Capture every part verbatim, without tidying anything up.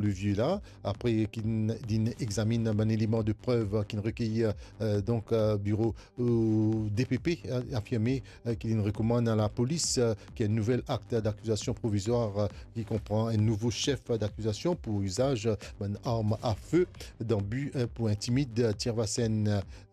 le vieux la, apre ki n-, li inn examinn bann eleman de prev ki inn rekeyir, euh, donk, euh, biro, euh, D P P, euh, afirme, euh, ki li inn rekomann a lapolis, euh, ki enn nouvel akt d'akizasion provizwar, euh, ki konpran enn nouvo sef d'akizasion pou izaz, euh, bann arm a fe dan bi, euh, pou intimid, euh, Tirvasen,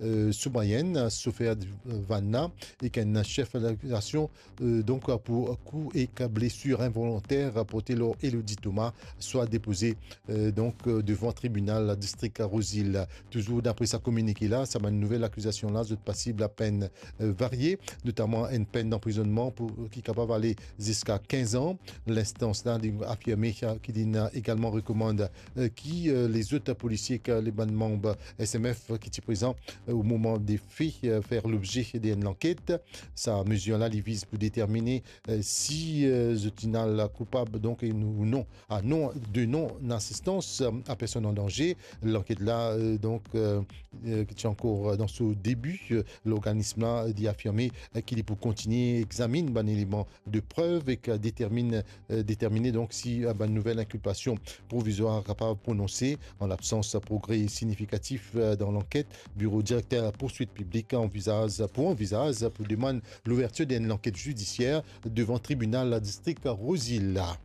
euh, Soumayen, sofer, euh, van la, ek enn sef d'akizasion, euh, donk, euh, pou kou ek blesir involonter porte lor Elodie Thomas, swa depoze, euh, donk, euh, devan tribinal distrik Rouzil. Touzour dapre sa kominike la, sa bann nouvel akizasion la, zot pasib lapenn, euh, varie, notaman enn penn danprizonnman pou, ki kapav ale ziska kinz an. Linstans la, li afirme ki li inn egalman rekomann, euh, ki, euh, lezot polisie, ki le bann manm S M F ki ti prezan, euh, o moman de fe, euh, fer lobze de enn lanket. Sa mezir la, li viz pou determine, euh, si, euh, zot inn al koupab, donk, e nou, ou non, a non, de non-asistans, euh, a personn an danze. Lanket la, euh, donk, euh, euh, ki ti ankor, euh, dan so debi, euh, lorganism la, euh, li afirme, euh, ki li pou kontigne examinn bann eleman de prev ek, euh, determine, euh, determine donk si, euh, bann nouvel inkilpasion provizwar kapav prononse. An labsans progre signifikatif, euh, dan lanket, biro direkter pourswit piblik anvizaz, pou anvizaz pou demann louvertir d'enn lanket zidisier devan tribinal distrik Rouzil la.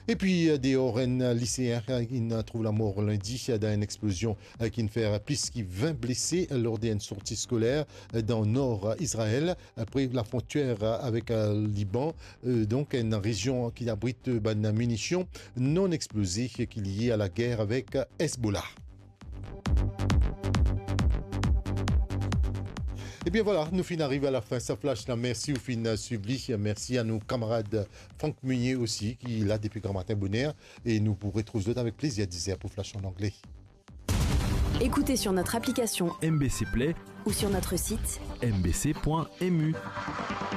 Epi, euh, deor, enn liseen, euh, inn trouv lamor lindi, euh, dan enn explozion, euh, ki'nn fer plis ki vin blese, euh, lor d'enn sorti skoler, euh, dan nor, euh, Izrael, euh, pre lafrontier, euh, avek, euh, Liban, euh, donk enn rezion ki abrit, euh, bann minision non exploze ki lie a lager avek, euh, Hezbollah. Ebien vwala, nou finn ariv a lafin sa flash la. Mersi ou finn swiv li. Mersi a nou kamarad Franck Meunier osi, ki la depi gramatin boner. E nou pou retrouv zot avek plezir dizer pou Flash an angle. Écoutez sur notre application M B C Play ou sur notre site M B C point M U.